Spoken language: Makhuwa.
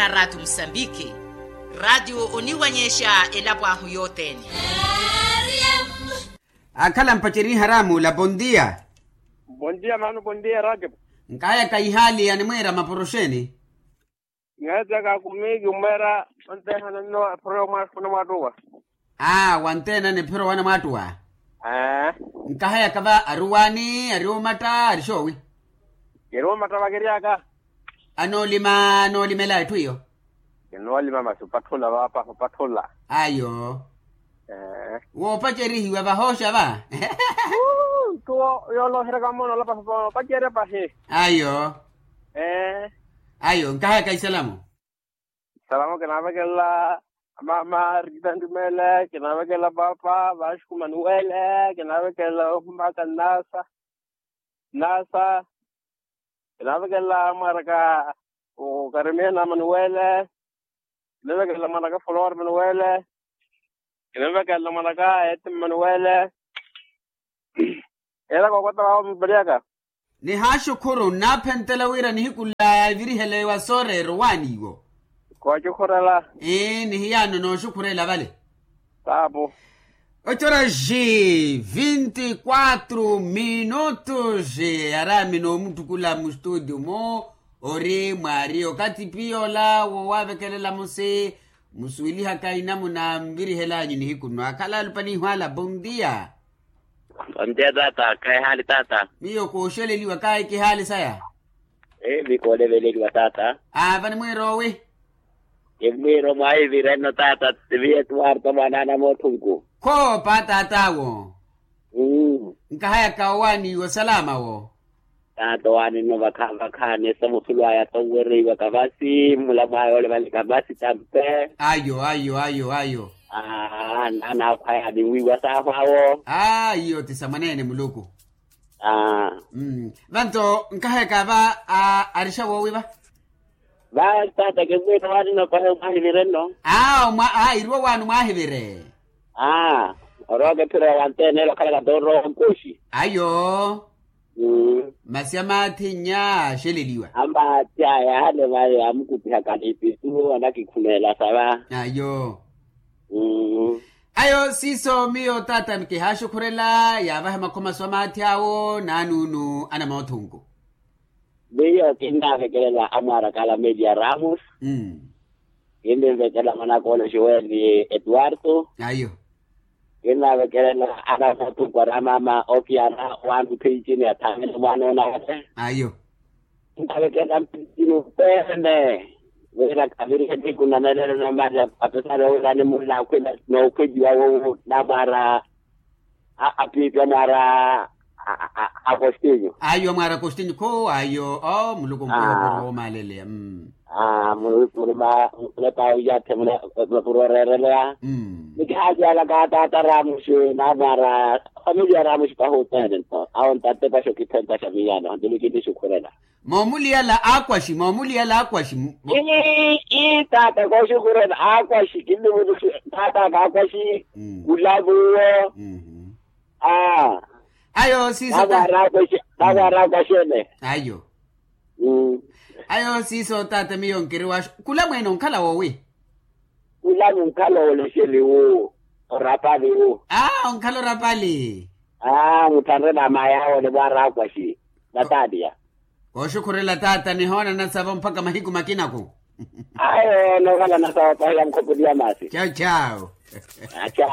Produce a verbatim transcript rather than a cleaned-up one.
Raatio musambiki. Raatio oniwanyexa elapo ahu yothene. Akhala mpaceriharamu la bondia. Bondia mano bondia raatio. Nkahayaka ihaali animweera maporoxeni. Ngeeteka kumiki mweera. Onteha nanno ephoro yomwaattuwa. Aa wanteena ni ephoro wanamwaattuwa. Nkahayaka va ari owaani ari omatta ari xoowi. Kiri omatta vakiryaka. Anoolima anoolimela etthu iyo. Kinoolima masi opatthula vaapa opatthula. Ayo. Woopacerihiwa vahooxa va. Tuwo yooloheraka mmoona olapa sopa opacerya pahi. Ayo. Ayo nkahayaka isalamu. Salamo kinaavekelela mama rita ntumeele kinaavekelela paapa vaaxuku manuwele kinaavekelela omaka nnasa. Nnasa kinaavekelela mwaraka okarimia na manuwele. Kinaavekelela mwaraka flor manuwele. Kinaavekelela mwaraka eti manuwele. Era kookota vaavo mupeliyaka. Nihaaxukhuru nnaaphenttela wira nihiku nla yaavirihelewa sooreera owaani iwo. Kooxukhurela. Ii nihiyaano nooxukhurela vale. Taapo. Ocoraxi vinti quatro minutos. Araami noomuttukula mustutio-mo ori mwaari okathi piyola woowavekelela musi. Musuwelihaka inamuna nvirihelanyu nihiku nno akhala alupaniihu ala bondia. Ontiya taata khayi haali taata. Miyo kooxeleliwa kaayi kihaali saya. Evi kooleveleliwa taata. Aava ni mwiiroowi. Kimwiiro mwaahivire nno taata. Tiviye tuwarta mwaanaana moothunku. Khoopa taat'awo. Nkahayaka owaani iwo salama wo. Taata owaani nno vakhaani esamuthulu aya tonwereiwaka vasi mmulamu aya olevalika vasi tampe. Ayo ayo ayo ayo. Aa naana akhwaya ninwiiwa saahu awo. Aa iyo ti sa mwaneene muluku. Aa. Vanto nkahayaka va. Arixa woowi va. Va taata kimwiiro waani nno pahi omwaahivire nno. Aa iriwo waani omwaahivire. Aa. Orooka ephiro ya wanteene ela okhalaka tooro onkuxi. Ayo. Masi amaathi nnya aaxeleliwa. Amaathi aya yaale vale yaamukupihaka n'ipisu anakikhumeelasa va. Ayo. Ayo siiso miyo taata kihaaxukhurela yaavahe makhomaso amaathi awo n'anuunu anamoothunku. Miyo kinnaavekelela amwaaraka ala melia ramos. Kinninvekelela mwanaka ole joeli etuwarto. Ayo. Kinnaavekelela anamoothunku ari amaama okiana owaani opheici ni athaamene mwaanoona ale. Ayo. Kinnaavekelela mpheici ni opeene. Wira khavirihe nihiku nanelelo na mali apesari owira animunlaakhwela nookhweliwa wowo namwaara. Apiipi amwaara. Akostinyu ayo amwaara akostinyu kho ayo oo muluku nkuwo opuro woomaaleleya. Muluku muli ma mulepa awiyaathe muli mapuro oreereleya. Ni kihaalyalaka taata raamuxi namwaara. Familiya raamuxi pahi othene nto awo ntatepaxa okithenttaxa miyaano nto nikinixukhurela. Moomuliyala aakwaxi moomuliyala aakwaxi. Ii taata kooxukhurela aakwaxi kinnivutuxi. Taataka aakwaxi. Khulavuwo. Aa. Ayo siiso. Navara akwaxene. Ayo. Ayo siiso taata miyo nkiriwaxo. Khula mweene onkhala woowi? Khula munkhala oolexeliwu. Orapaliwu. Aa onkhala orapali. Aa muthanre na mayawo ni mwaara akwaxi. Nataliya. Kooxukhurela taata nihoonana savo mpakha mahiku makinaku. Ayo nookhalana savo pahi ya mukhopuliya masi. Chawu chawu. Chawu.